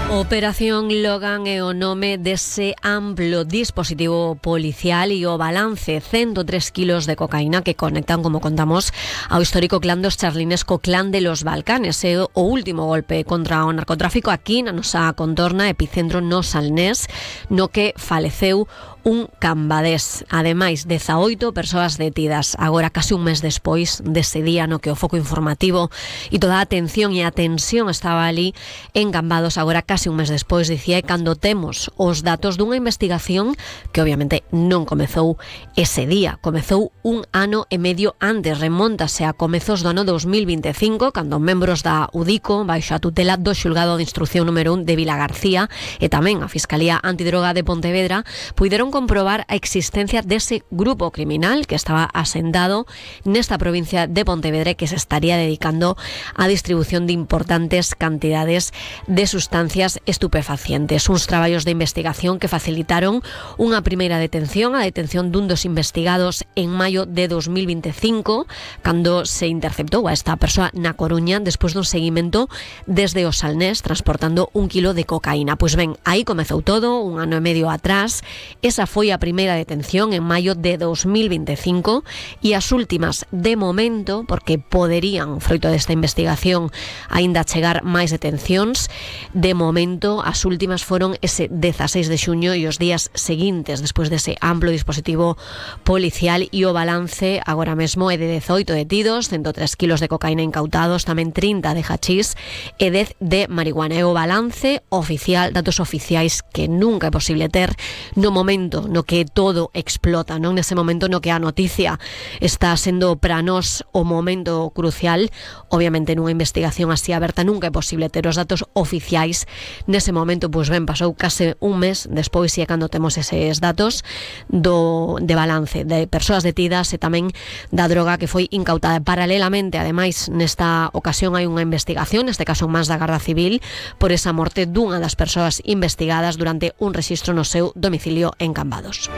Operación Logan é o nome dese amplo dispositivo policial e o balance 103 kilos de cocaína que conectan, como contamos, ao histórico clan dos charlines co clan de los Balcanes. É o último golpe contra o narcotráfico aquí na nosa contorna, epicentro no Salnés, no que faleceu un cambadés. Ademais, 18 persoas detidas. Agora, casi un mes despois dese día no que o foco informativo e toda a atención e a tensión estaba ali en Cambados, agora casi un mes despois, dicía, cando temos os datos dunha investigación que obviamente non comezou ese día, comezou un ano e medio antes, remóntase a comezos do ano 2025, cando membros da UDICO, baixo a tutela do xulgado de instrucción número 1 de Vilagarcía e tamén a Fiscalía Antidroga de Pontevedra, puideron comprobar a existencia dese grupo criminal que estaba asentado nesta provincia de Pontevedra que se estaría dedicando á distribución de importantes cantidades de sustancias estupefacientes. Uns traballos de investigación que facilitaron unha primeira detención, a detención dun dos investigados en maio de 2025, cando se interceptou a esta persoa na Coruña despois dun seguimento desde o Salnés transportando 1 kilo de cocaína. Pois ben, aí comezou todo, un ano e medio atrás. Esa foi a primeira detención en maio de 2025 e as últimas, de momento, porque poderían, froito desta investigación, aínda chegar máis detencións, de momento as últimas foron ese 16 de xuño e os días seguintes despois dese amplo dispositivo policial, e o balance agora mesmo é de 18 detidos, 103 kilos de cocaína incautados, tamén 30 de hachís e 10 de marihuana. É o balance oficial, datos oficiais que nunca é posible ter no momento no que todo explota, non nese momento no que a noticia está sendo para nós o momento crucial. Obviamente nunha investigación así aberta nunca é posible ter os datos oficiais nese momento. Pois ben, pasou case un mes despois e é cando temos eses datos de balance de persoas detidas e tamén da droga que foi incautada. Paralelamente, ademais, nesta ocasión hai unha investigación, neste caso máis da Garda Civil, por esa morte dunha das persoas investigadas durante un rexistro no seu domicilio en Cambados.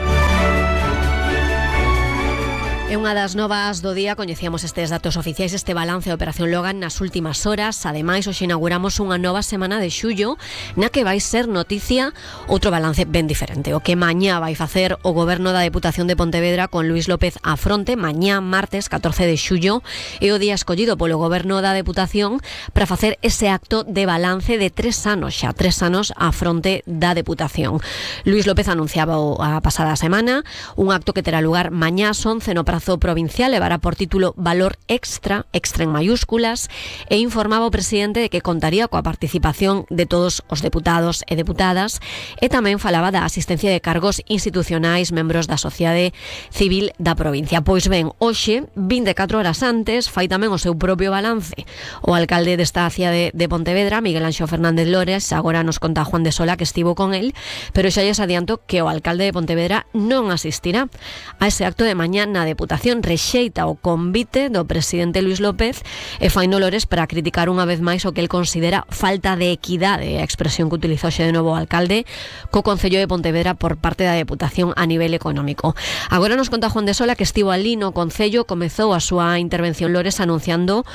É unha das novas do día, coñecíamos estes datos oficiais, este balance da Operación Logan nas últimas horas. Ademais, hoxe inauguramos unha nova semana de xullo na que vai ser noticia outro balance ben diferente, o que mañá vai facer o Goberno da Deputación de Pontevedra con Luís López á fronte. Mañá, martes 14 de xullo, é o día escollido polo Goberno da Deputación para facer ese acto de balance de 3 anos, xa 3 anos á fronte da Deputación. Luís López anunciaba a pasada semana un acto que terá lugar mañá ás 11 no Prazo Provincial, levará por título Valor Extra, extra en mayúsculas, e informaba o presidente de que contaría coa participación de todos os deputados e deputadas, e tamén falaba da asistencia de cargos institucionais, membros da sociedade civil da provincia. Pois ben, hoxe, 24 horas antes, fai tamén o seu propio balance o alcalde desta cidade de Pontevedra, Miguel Anxo Fernández Lores. Agora nos conta Juan de Sola que estivo con el, pero xa lles adianto que o alcalde de Pontevedra non asistirá a ese acto de mañá na Deputación. Rexeita o convite do presidente Luís López e fai Lores para criticar unha vez máis o que el considera falta de equidade, a expresión que utilizou xe de novo o alcalde, co Concello de Pontevedra por parte da Deputación a nivel económico. Agora nos conta Juan de Sola que estivo ali no Concello, comezou a súa intervención Lores anunciando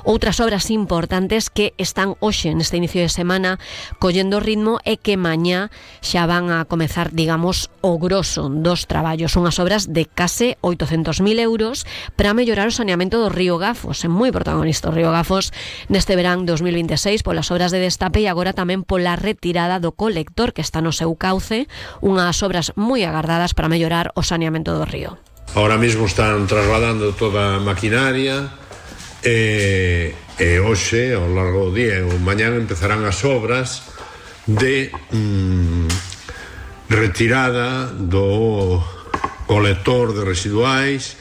outras obras importantes que están hoxe neste inicio de semana collendo ritmo e que mañá xa van a comezar, digamos, o grosso dos traballos. Unhas obras de case 800.000 euros para mellorar o saneamento do río Gafos. É moi protagonista o río Gafos neste verán 2026 polas obras de destape e agora tamén pola retirada do colector que está no seu cauce, unhas obras moi agardadas para mellorar o saneamento do río. Ahora mismo están trasladando toda a maquinaria e hoxe, ao largo do día e mañá empezarán as obras de retirada do colector de residuais,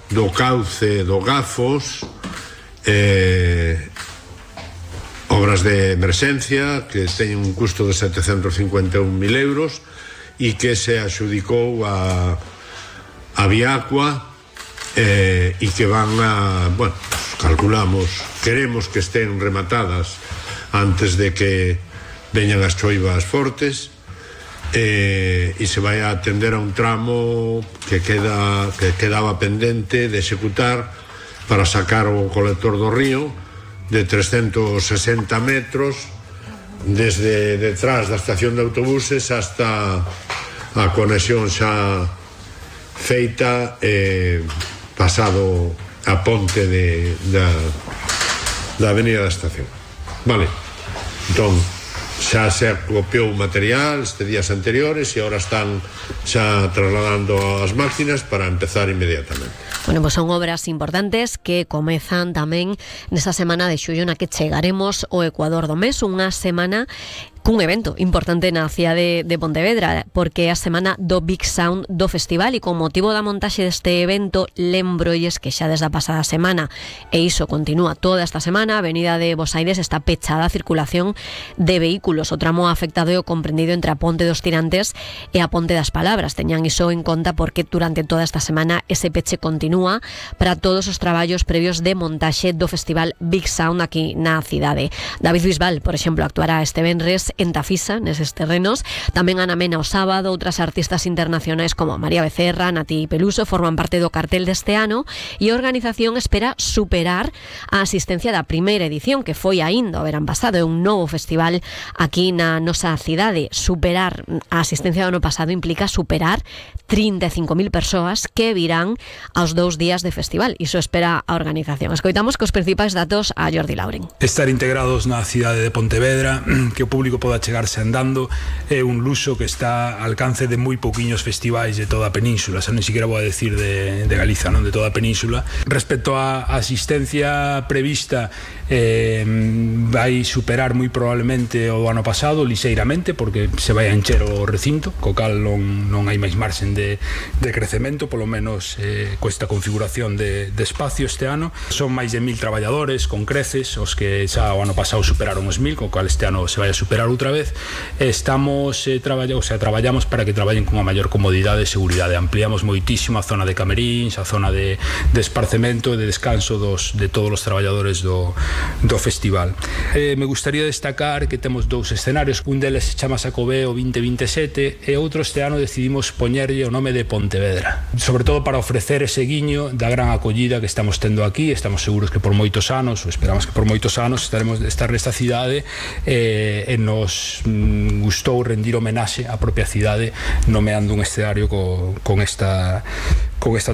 do cauce do Gafos, obras de emerxencia que teñen un custo de 751.000 euros e que se adxudicou a Viacua e que van a, bueno, calculamos, queremos que estén rematadas antes de que veñan as choivas fortes, e se vai a atender a un tramo que quedaba pendente de executar para sacar o colector do río de 360 metros desde detrás da estación de autobuses hasta a conexión xa feita pasado a ponte da avenida da estación. Vale, entón xa se acopiou material este días anteriores e agora están xa trasladando as máquinas para empezar inmediatamente. Bueno, pues son obras importantes que comezan tamén nesta semana de xullo na que chegaremos ao Ecuador do mes, unha semana cun evento importante na cidade de Pontevedra, porque é a semana do Big Sound do festival, e con motivo da montaxe deste evento lembrolles que xa desde a pasada semana, e iso continúa toda esta semana, a avenida de Bos Aires está pechada a circulación de vehículos. O tramo afectado é o comprendido entre a Ponte dos Tirantes e a Ponte das Palabras. Teñan iso en conta porque durante toda esta semana ese peche continúa para todos os traballos previos de montaxe do festival Big Sound aquí na cidade. David Bisbal, por exemplo, actuará este venres en Tafisa, neses terrenos. Tamén Ana Mena o sábado. Outras artistas internacionais como María Becerra, Nati Peluso forman parte do cartel deste ano, e a organización espera superar a asistencia da primeira edición, que foi aínda o verán pasado. É un novo festival aquí na nosa cidade. Superar a asistencia do ano pasado implica superar 35.000 persoas que virán aos 2 días de festival. Iso espera a organización. Escoitamos cos principais datos a Jordi Lauren. Estar integrados na cidade de Pontevedra, que o público poda chegarse andando, é un luxo que está al alcance de moi pouquiños festivais de toda a península, xa non siquiera vou a decir de Galiza, non, de toda a península. Respecto á asistencia prevista, vai superar moi probablemente o ano pasado, lixeiramente, porque se vai a encher o recinto, co cal non hai máis marxen de crecemento, polo menos coesta configuración de espacio este ano. Son máis de 1.000 traballadores con creces, os que xa o ano pasado superaron os 1.000, co cal este ano se vai a superar outra vez. Estamos traballamos para que traballen con a maior comodidade e seguridade. Ampliamos moitísimo a zona de cameríns, a zona de esparcemento e de descanso de todos os traballadores do festival. Me gustaría destacar que temos 2 escenarios. Un deles se chama Xacobeo 2027 e outro este ano decidimos poñerlle o nome de Pontevedra, sobre todo para ofrecer ese guiño da gran acollida que estamos tendo aquí. Estamos seguros que por moitos anos, ou esperamos que por moitos anos, estaremos de estar nesta cidade, e nos gustou rendir homenaxe á propia cidade nomeando un escenario con esta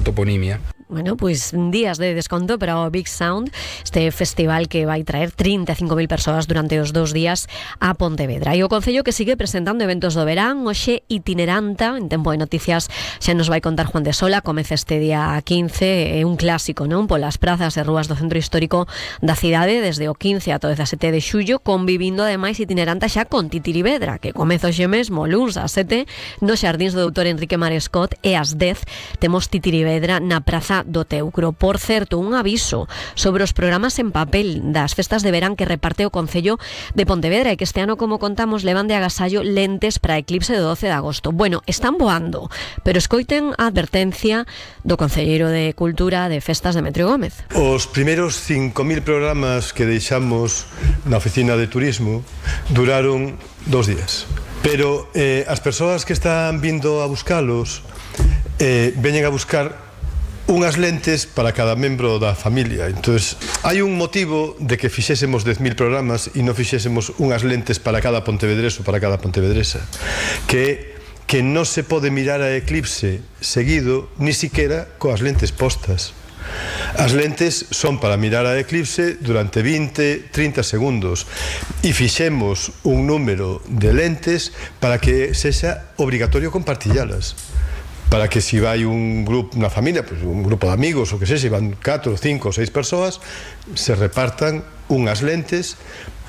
toponimia. Bueno, pues días de desconto para o Big Sound, este festival que vai traer 35.000 persoas durante os 2 días a Pontevedra. E o Concello que sigue presentando eventos do verán, hoxe itineranta, en Tempo de Noticias xa nos vai contar Juan de Sola, comeza este día 15, é un clásico, non? Polas prazas e rúas do centro histórico da cidade desde o 15 ata o 17 de xullo, convivindo ademais itineranta xa con Titirivedra, que comeza hoxe mesmo, luns ás 7, nos xardíns do Doutor Enrique Marescot, e ás 10 temos Titirivedra na Praza do Teucro. Por certo, un aviso sobre os programas en papel das festas de verán que reparte o Concello de Pontevedra, e que este ano, como contamos, levan de agasallo lentes para eclipse do 12 de agosto. Bueno, están voando, pero escoiten a advertencia do concelleiro de Cultura de Festas, Demetrio Gómez. Os primeiros 5.000 programas que deixamos na oficina de turismo duraron 2 días, pero as persoas que están vindo a buscalos veñen a buscar unhas lentes para cada membro da familia. Entonces, hai un motivo de que fixésemos 10.000 programas e non fixésemos unhas lentes para cada pontevedreso, para cada pontevedresa, que non se pode mirar a eclipse seguido, ni siquiera coas lentes postas. As lentes son para mirar a eclipse durante 20-30 segundos, e fixemos un número de lentes para que sexa obrigatorio compartillalas, para que se vai un grupo, unha familia, pues un grupo de amigos, ou que se van 4, 5 ou 6 persoas, se repartan unhas lentes,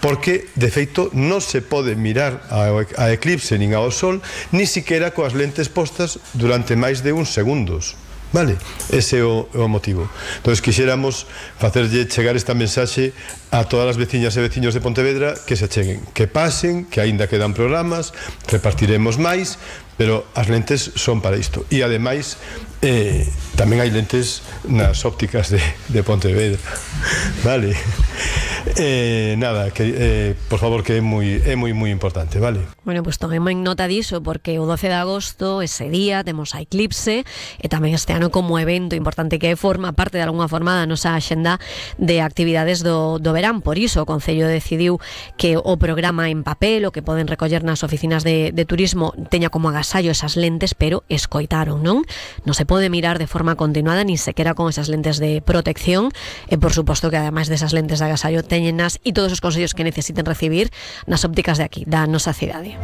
porque de feito non se pode mirar a eclipse nin ao sol, ni siquiera coas lentes postas durante máis de uns segundos. Vale, ese é o motivo. Entón, quixéramos facerlle chegar esta mensaxe a todas as veciñas e veciños de Pontevedra, que se cheguen, que pasen, que aínda quedan programas, repartiremos máis, pero as lentes son para isto. E ademais, Tamén hai lentes nas ópticas de Pontevedra, vale? Nada, por favor, que é moi importante, vale? Bueno, pues tomemos nota diso, porque o 12 de agosto, ese día, temos a eclipse, e tamén este ano como evento importante que forma parte de alguna forma da nosa axenda de actividades do verán. Por iso o Concello decidiu que o programa en papel, o que poden recoller nas oficinas de turismo, teña como agasallo esas lentes, pero escoitaron, non? Non se pode mirar de forma continuada, ni sequera con esas lentes de protección, e por suposto que ademais desas lentes de agasallo teñenas e todos os consellos que necesiten recibir nas ópticas de aquí, da nosa cidade.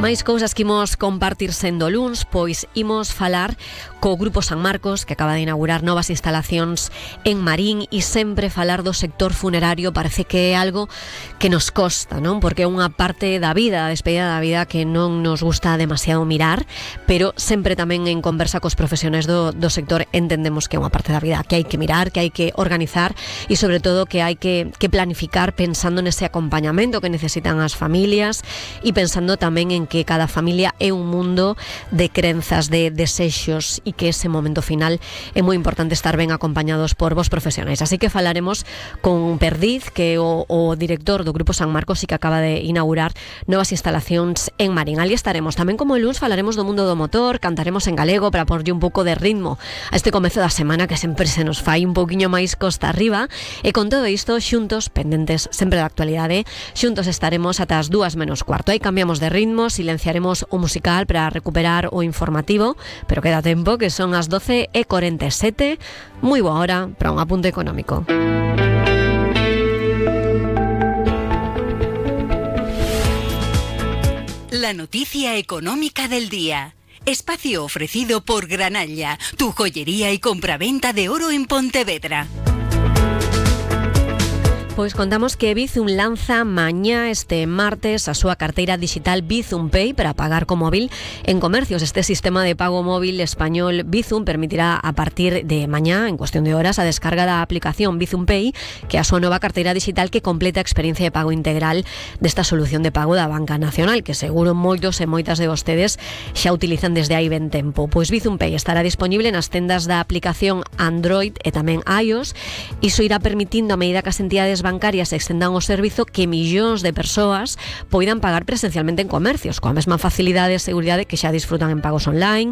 Máis cousas que imos compartir sendo luns, pois imos falar co Grupo San Marcos, que acaba de inaugurar novas instalacións en Marín, e sempre falar do sector funerario parece que é algo que nos costa, non? Porque é unha parte da vida, a despedida da vida, que non nos gusta demasiado mirar, pero sempre tamén en conversa cos profesionais do sector entendemos que é unha parte da vida que hai que mirar, que hai que organizar e sobre todo que hai que planificar pensando nese acompañamento que necesitan as familias e pensando tamén en que cada familia é un mundo de crenzas, de desexos e que ese momento final é moi importante estar ben acompañados por vos profesionais. Así que falaremos con Perdiz, que é o director do Grupo San Marcos e que acaba de inaugurar novas instalacións en Marín. Ali estaremos. Tamén como el luns falaremos do mundo do motor, cantaremos en galego para porlle un pouco de ritmo a este comezo da semana que sempre se nos fai un pouquiño máis costa arriba, e con todo isto xuntos, pendentes sempre da actualidade, xuntos estaremos ata as 2:45. Aí cambiamos de ritmo, silenciaremos o musical para recuperar o informativo, pero queda tempo, que son as 12:47. Moi boa hora para un apunte económico. La noticia económica del día. Espacio ofrecido por Granalla, tu joyería y compraventa de oro en Pontevedra. Pois contamos que Bizum lanza mañá, este martes, a súa carteira digital Bizum Pay para pagar co móvil en comercios. Este sistema de pago móvil español Bizum permitirá a partir de mañá, en cuestión de horas, a descarga da aplicación Bizum Pay, que é a súa nova carteira digital que completa a experiencia de pago integral desta solución de pago da Banca Nacional, que seguro moitos e moitas de vostedes xa utilizan desde hai ben tempo. Pois Bizum Pay estará disponible nas tendas da aplicación Android e tamén iOS. Iso irá permitindo, a medida que as entidades bancarias extendan o servizo, que millóns de persoas poidan pagar presencialmente en comercios, coa mesma facilidade e seguridade que xa disfrutan en pagos online,